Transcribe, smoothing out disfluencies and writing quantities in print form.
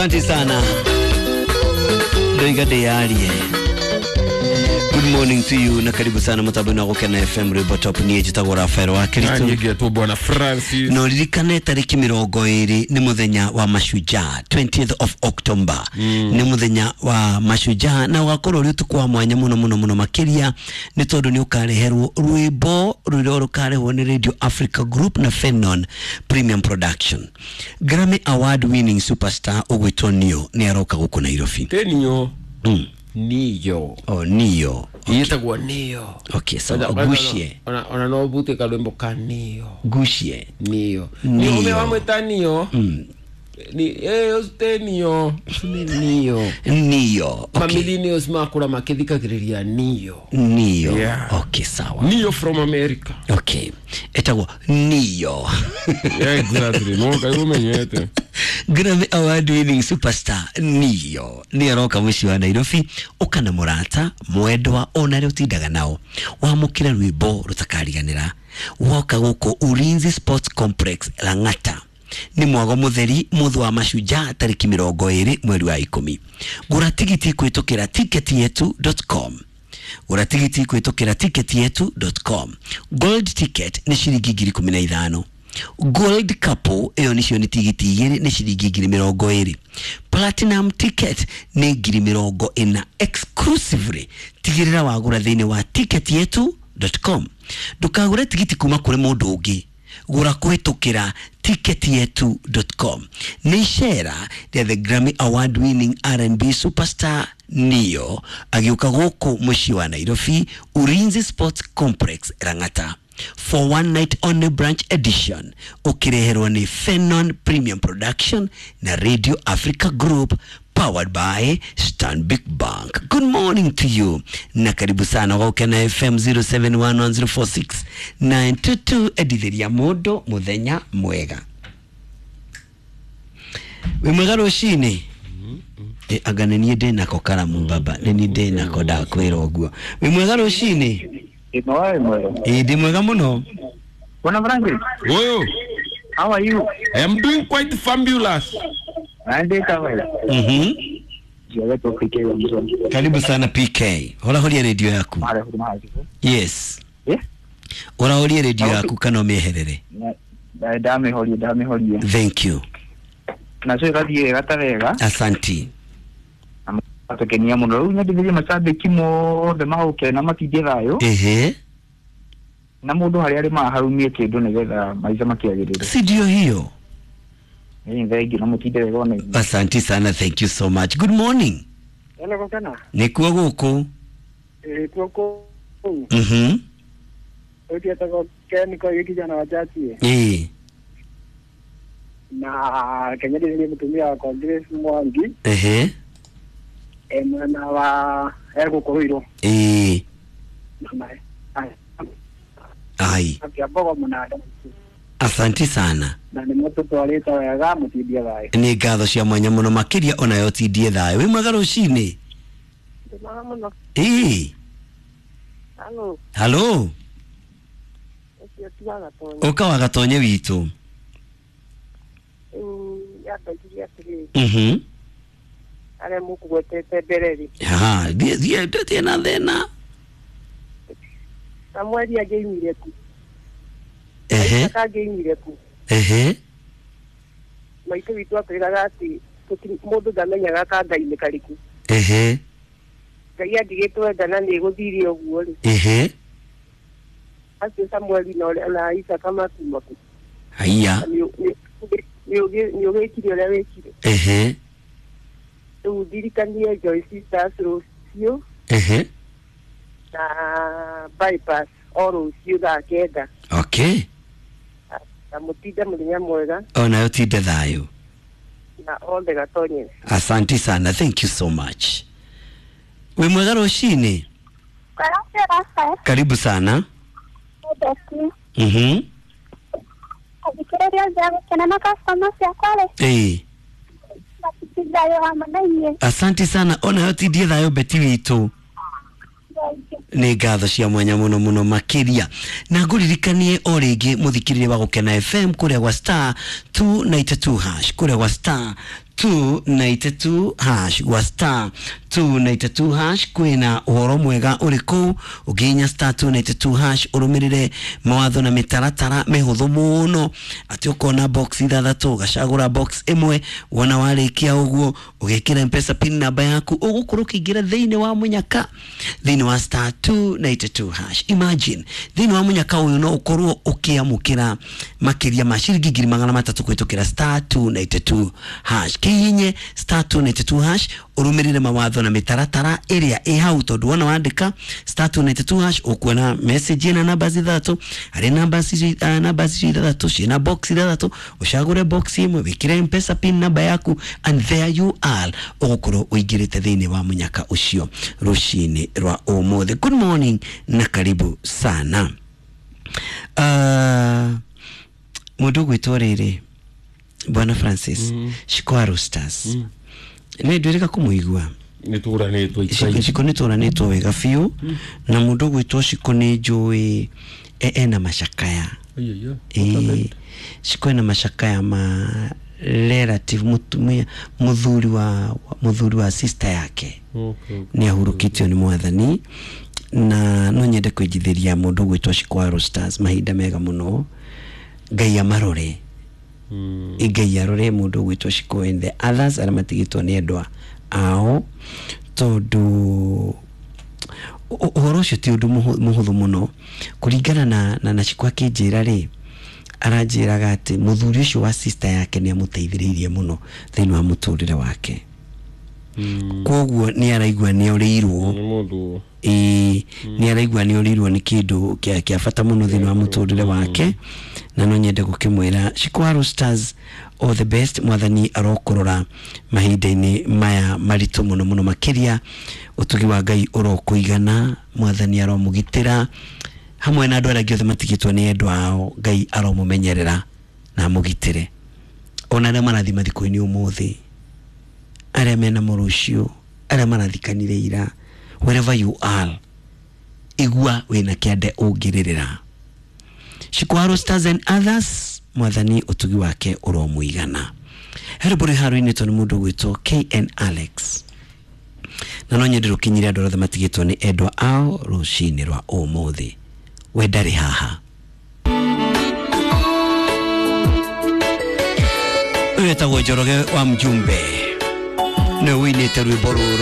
Asante sana. Ndoiga ndiyarie. Good morning to you na karibu sana mutambo na Gukena FM Rwimbo Top. Niĩ njĩtagwo Rafael wa Kristo. Nanyingetwo Bwana Francis. No ririkane tariki 20 nĩ mũthenya wa mashujaa, 20th of October. Nĩ mũthenya wa mashujaa na ũgakorwo ũrĩ ũtukũ wa mwanya mũno mũno mũno makĩria, nĩ tondũ nĩ ũkareherwo rwĩmbo rũrĩa rũkarehwo nĩ Radio Africa Group na Fenon Premium Production. Grammy Award winning superstar ũgwĩtwo Neo nĩ aroka gũkũ Nairobi. Tenio. Niyo. Oh, Neo. Yetagwo Niyo. Okay, sawa. Gushie. Ona no bute kalwimbo ka Niyo. Gushie. Niyo. Niyo. Niyo wamwita Niyo. Ni te Niyo. Ni Niyo. Neo. Okay. Mamillennials makura makithikagiriria Niyo. Neo. Yeah. Okay, sawa. Niyo from America. Okay. Etagwo Neo. Yeah, exactly. No kai umenyete. Grammy Award winning superstar Neo nĩ aroka mũciĩ wa Nairobi. Ũka na mũrata mwendwa ona arĩa ũtindaga nao, wamũkĩre rwĩmbo rũtakariganĩra. Woka gũkũ Ulinzi Sports Complex Lang'ata, nĩ mwago mũtheri mũthũ wa mashujaa, tarĩki 20 mweri wa 10. Gũra tigiti kũhĩtũkĩra ticketyetu.com. Gũra tigiti kũhĩtũkĩra ticketyetu.com. Gold ticket nĩ ciringi 15,000. Gold couple ĩyo nĩcio nĩ tigiti igĩrĩ nĩ ciringi 20,000. Platinum ticket nĩ 40,000 exclusively. Tigĩrĩra wagũra thĩinĩ wa ticketyetu.com. Ndũkagũre tigiti kuma kũrĩ mũndũ ũngĩ, gũra kũhĩtũkĩra ticketyetu.com. Nĩ icera rĩa the Grammy Award winning R&B superstar Neo agĩũka gũkũ mũciĩ wa Nairobi, Ulinzi Sports Complex Lang'ata, for one night only branch edition, ũkĩreherwo nĩ Fenon Premium Production na Radio Africa Group, powered by Stanbic Bank. Good morning to you na karibu sana Gukena FM 0711046922. Endithĩria mũndũ mũthenya mwega. Wĩ mwega rũcinĩ. Anga nĩ niĩ ndĩnako karamu baba, nĩ niĩ ndĩnako, ndakwĩra ũguo. Wĩ mwega rũcinĩ. Ĩ, ndĩ mwega mũno. Bwana Francis, Oyo, how are you? I am doing quite fabulous. Andika wewe. Jiwe tu PK wa mzoni. Karibu sana PK. Horahoria redio yaku. Mara huduma hazi. Yes. Eh? Ũrahoria redio yaku kana ũmĩeherere? Na ndamihorie ndamihorie. Thank you. Na cio ĩgathiĩ wega ta wega. Asanti. Atukenia mũno. Rĩu nyendithĩrie macambĩki mothe mahũke na matindie thayũ. Ehe. Na mũndũ harĩa arĩ maharumie kĩndũ nĩgetha maica makĩagĩrĩre. Si ndio hiyo? Nĩ thengi na mũtinde wega ona inyuĩ. Asanti sana, thank you so much. Good morning. Hello, Gukena. Nĩkuo gũkũ. Ĩkuo kũu. Ũthiĩtagwo Ken Koigi, kijana wa chachi. Ĩĩ. Na Kenya ndĩrĩ mũtumia wakwa Grace Mwangi. Ehe. E mwena wa egũkũ Ruiru. Ĩĩ. Ai. Akĩambogo mũnanda. Asanti sana. Na nĩ mũtũtwarĩte wega, mũtindie thayũ. Nĩ ngatho cia mwanya mũno makĩria, onayo tindie thayũ. Wĩ mwega rũcinĩ. Ndĩmwega mũno. Ĩĩ. Halo, Halo. ũcio ti wa Gatonye. Ũka wa Gatonye witũ. Rĩu yambanjirie atĩrĩrĩ, arĩa mũkũgwetete mbere rĩ, Ha, thiĩ thiĩ, ndũtirĩ na thĩna. Samueli angĩimire ku? Ehe. Isaaka angĩimire ku? Ehe. Maitũ witũ atwĩraga atĩ mũndũ ndamenyaga ka Ngai nĩ karĩkũ. Ehe. Ngai angĩgĩtwenda na nĩ gũthire ũguo rĩ, Ehe. acio Samueli na na Isaaka makuma kũ? Haiya. Nĩ ũgĩkire ũrĩa wĩkire. Ehe. Rĩu ndirikanie Joy Sisters rũciũ Ehe. na bypass o rũciũ thaa 9. Okay. Na mũtinde mũthenya mwega. Onayo tinde thayũ. Na othe Gatonye. Asanti sana, thank you so much. Wĩ mwega rũcinĩ. Karibu sana. Athikĩrĩria othe a Gũkena na customer ciakwa rĩ, Ĩĩ. matitinde thayũ hamwe na inyuĩ. Asanti sana, onayo tindie thayũ Beti witũ. Nĩ ngatho cia mwanya mũno mũno makĩria, na ngũririkanie o rĩngĩ mũthikĩrĩria wa Gũkena FM, kũrĩa gwa star 292 hash, kũrĩa gwa star 292 hash gwa star 292 hash kwina uhoro mwega uriku uginya star 292 hash urumirire mawatho na mitaratara mihuthu muno ati ukona box ithathatu ugacagura box imwe wona warikia uguo ugikira mpesa pin namba yaku ugukorwo ukiingira thiini wa munyaka thiini wa star 292 hash. Imagine thiini wa munyaka uyu no ukorwo ukiamukira makiria ma ciringi 300 kwitukira star 292 hash. Kihinye star 292 hash urumirire mawatho na mitaratara iria i hau tondu wona wandika star 292 hash ukuona message ina namba ithathatu hari namba icio ithathatu ciina box ithathatu ucagure box imwe wikire mpesa pin namba yaku and there you are ugukorwo uingirite thiini wa munyaka ucio rucini rwa umuthi. Good morning na karibu sana. Mundu ugwitwo riri Bwana Francis Shiko Roosters nä ndwä rä ga kå må igua nä tå ranä two Shiko nä tå ranä two wega biå na må ndå gwä two Shiko nä njå ena macakaya. Shiko ena macakaya ma relative mutumia muthuri wa sister yake nä ahurũkĩtio nĩ mwathani na no nyende kwĩnjithĩria mũndũ ũgwĩtwo Shiko wa Roosters mahinda mega mũno. Ngai amarore, Ngai arore mũndũ ũgwĩtwo Shiko and the others arĩa matigĩtwo nĩ endwa ao tondũ ũhoro ũcio ti ũndũ mũhũthũ mũno kũringana na Shiko akĩnjĩra rĩ aranjĩraga atĩ mũthuri ũcio wa sister yake nĩ amũteithĩrĩirie mũno thĩinĩ wa mũtũrĩre wake. Koguo nĩ araigua nĩ orĩirwo nĩ araigua nĩ orĩirwo nĩ kĩndũ kĩa bata mũno thĩinĩ wa mũtũrĩre wake na no nyende gũkĩmwĩra Shiko wa Roosters all the best. Mwathani arokorora mahinda-inĩ maya maritũ mũno mũno makĩria ũtugi wa Ngai ũrokũigana mwathani aromũgitĩra hamwe na andũ arĩa angĩ othe matigĩtwo nĩ endwa ao. Ngai aromũmenyerera na amũgitĩre ona arĩa marathiĩ mathiko-inĩ ũmũthĩ arĩa mena mũrũcio arĩa marathikanire ira wherever you are igua wĩna kĩande ũngĩrĩrĩra. Shiko wa Roosters and others mwathani ũtugi wake ũromũigana. Herũbũrĩ haru-inĩ tondũ mũndũ ũgwĩtwo KN Alex na no nyende rũkinyire andũ othe matigĩtwo nĩ endwa ao rũcinĩ rwa ũmũthĩ. We ndarĩ haha. Ũyũ etagwo Njoroge wa Mjumbe nĩwe ũinĩte rwĩmbo rũrũ.